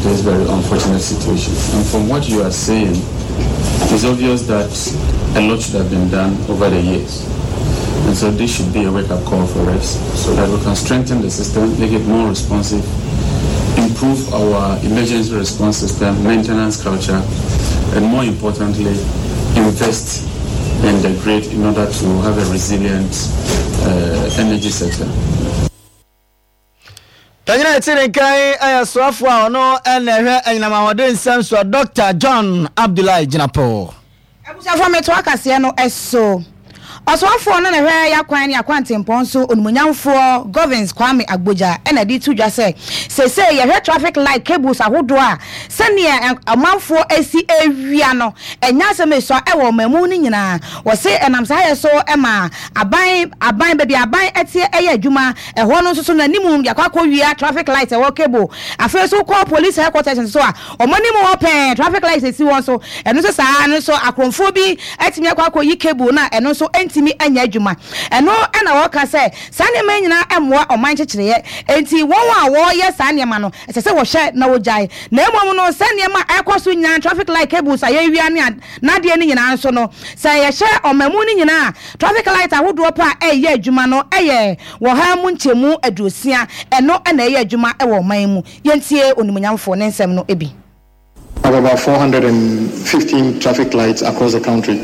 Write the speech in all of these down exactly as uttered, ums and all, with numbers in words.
this very unfortunate situation. And from what you are saying, it's obvious that a lot should have been done over the years. And so this should be a wake-up call for us so that we can strengthen the system, make it more responsive, improve our emergency response system, maintenance culture, and more importantly, invest in the grid in order to have a resilient uh, energy sector. Panyina ɛte ne nkan ɛyɛ soafoɔ a ɔno ɛna ɛhwɛ anyinam ahoɔden nsɛm soɔ, Doctor John Abdullahi Jinapor. Abusuafoɔ, mɛto akaseɛ no ɛso. Ɔsoafoɔ no na ɛhwɛ yakwan ne akwantempɔn so, onimonyamfoɔ Governs Kwame Agbodza, ɛna de to dwa sɛ seesei yɛhwɛ traffic light cables ahodoɔ a, sɛnea ɔmanfoɔ asi awia no, ɛnyɛ asɛm esua ɛwɔ ɔman mu no nyinaa. Wɔse ɛnam saa yɛ so ɛma aban aban baabi aban ɛteɛ ɛyɛ adwuma ɛhɔ no nso so n'anim yɛakɔ akɔ traffic light ɛwɔ cable. Afei nso kɔ police headquarters nso a, ɔmo anim hɔ pɛɛ traffic light esi wɔn so. Ɛno nso saa no nso akorɔmfoɔ bi ɛtumi akɔ akɔ yi cable na ɛno nso ɛntumi ɛnyɛ adwuma. Ɛno ɛna wɔka sɛ saa nneɛma yi nyinaa ɛmmoa ɔman kyekyereyɛ, enti wɔn a wɔreyɛ saa nneɛma no, ɛsɛ sɛ wɔhwɛ na wɔgyae. Na mmom no, sɛ nneɛma a ɛkɔ so nyinaa, traffic light cables a yɛwia ne n'adeɛ no nyinaa nso no, sɛ yɛhyɛ ɔman mu no nyinaa, traffic light ahodoɔ pa a ɛyɛ adwuma no ɛyɛ wɔ ha mu nkyɛmu aduosia. Ɛno ɛna ɛyɛ adwuma ɛwɔ ɔman mu. Yɛntie onimonyamfoɔ ne nsɛm no bi. Have about four hundred fifteen traffic lights across the country.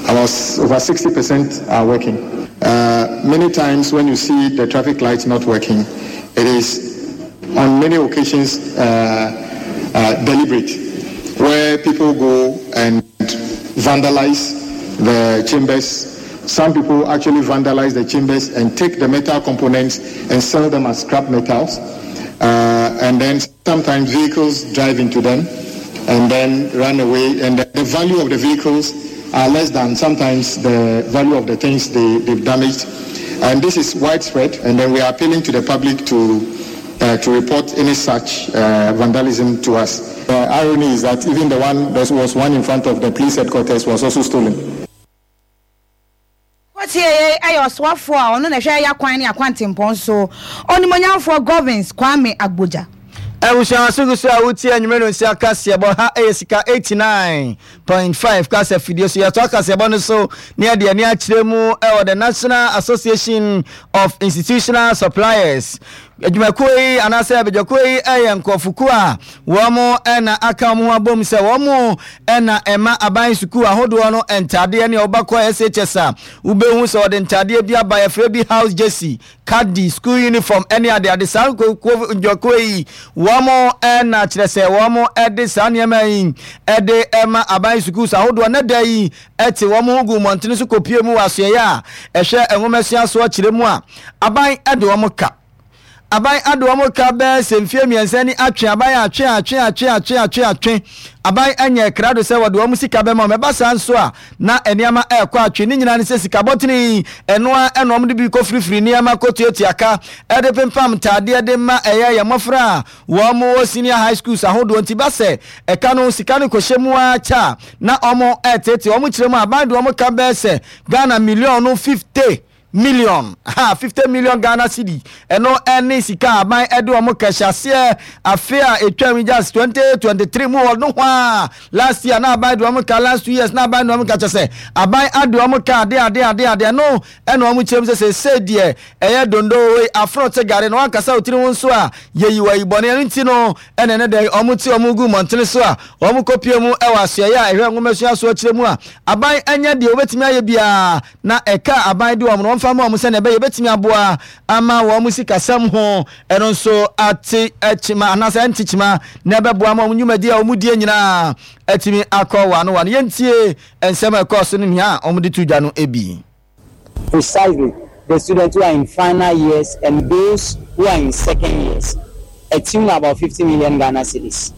About over sixty percent are working. Uh, many times when you see the traffic lights not working, it is on many occasions uh, uh, deliberate, where people go and vandalize the chambers. Some people actually vandalize the chambers and take the metal components and sell them as scrap metals. Uh, and then sometimes vehicles drive into them and then run away. And the, the value of the vehicles are less than sometimes the value of the things they, they've damaged. And this is widespread. And then we are appealing to the public to uh, to report any such uh, vandalism to us. The irony is that even the one, there was one in front of the police headquarters, was also stolen. Wɔtie ɛyɛ ɔsoafoɔ a ɔno na ɛhwɛ yɛ akwan ne akwantempɔn so, ɔnimonyamfoɔ Governs Kwame Agbodza. Abusua so gu so a wotie anwummerɛ no nsi akaseɛbɔ ha. Ɛyɛ Sika eighty-nine point five kasa fidie so. Yɛtɔ akaseɛbɔ no so ne yɛde ani akyerɛ mu ɛwɔ the National Association of Institutional Suppliers adwumakuo yi anaasɛ abadwakuo yi. Ɛyɛ nkurɔfokuo a wɔn ɛna aka wɔn ho abom sɛ wɔn ɛna ɛma aban sukuu ahodoɔ no ntadeɛ. Ne ɔbakɔ S H S a, wobɛhu sɛ wɔde ntadeɛ bi aba, yɛfrɛ bi house jersey, khadi, school uniform ɛne adeade. Saa nkuo ndwakuo yi, wɔn ɛna kyerɛ sɛ wɔn ɛde saa nneɛma yi ɛde ɛma aban sukuu ahodoɔ. Ne da yi ɛte wɔn ho gu mmɔntene so kɔpie mu wɔ asoɛyɛ a ɛhwɛ nwomasua soɔ kyerɛ mu a, aban ɛde wɔn ka, aban ade wɔn ka bɛɛ sɛ mfie mmiɛnsa ni. Atwe aban, atwe, atwe, atwe, atwe, atwe, atwe aban anya krado sɛ wɔde wɔn sika bɛma wɔn. Ɛba saa nso a, na nneɛma ɛrekɔ atwe ne nyinaa ne sɛ sika bɔtene yi, ɛnoa ɛna wɔn de bi kɔ firifiri nneɛma kɔ tuatua ka ɛde pempam ntaadeɛ de ma ɛyɛ yɛn mmɔfra a wɔn wɔ senior high schools ahodoɔ. Nti ba sɛ ɛka no sika no kɔhyɛ mu akyɛ a, na wɔn ɛretete wɔn kyerɛ mu. Aban de wɔn ka bɛɛ sɛ Ghana million no fifty million ha, fifty million Ghana cedi. Ɛno ɛne sika aban ɛde wɔn kɛhyɛ aseɛ afe a etwa mu, just twenty twenty three mu hɔ no hɔ a. Last year na aban de wɔn ka, last two years na aban de wɔn ka. Kyɛ sɛ aban ade wɔn ka ade ade ade ade. Ɛno ɛna wɔn kyerɛ mu sɛ sɛ deɛ ɛyɛ dondo wei afono te gare na wankasa otiri ho nso a yɛyi wɔ ayibɔne. Ɛno nti no ɛna ɛne dɛ wɔn ti wɔn gu mmɔntene so a wɔn kɔpie mu ɛwɔ asoɛyɛ a ɛhwɛ nwoma so akyerɛ mu a, aban ɛnyɛ deɛ wɔbɛtumi ayɛ biara na ɛka aban de wɔn no wɔmfa ma wɔn sɛnea ɛbɛyɛ ɛbɛtumi aboa ama wɔn sikasɛm ho ɛno nso ate kyima anaasɛ ɛnte kyima na ɛbɛboa ma wɔn nnwumadi a wɔn die nyinaa atumi akɔ wano wano. Yɛntie nsɛm a ɛkɔɔ so no nea a wɔde to dwa no bi. Precisely the students who are in final years and those who are in second years, a tune about fifty million Ghana cedis.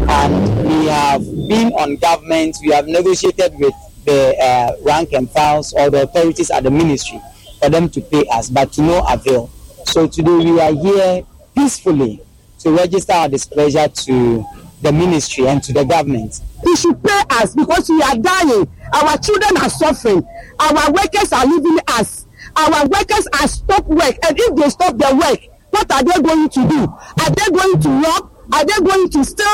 And we have been on government, we have negotiated with the uh, rank and files or the authorities at the ministry for them to pay us, but to no avail. So today we are here peacefully to register our displeasure to the ministry and to the government. He should pay us because we are dying. Our children are suffering. Our workers are leaving us. Our workers are stop work. And if they stop their work, what are they going to do? Are they going to rob? Are they going to steal?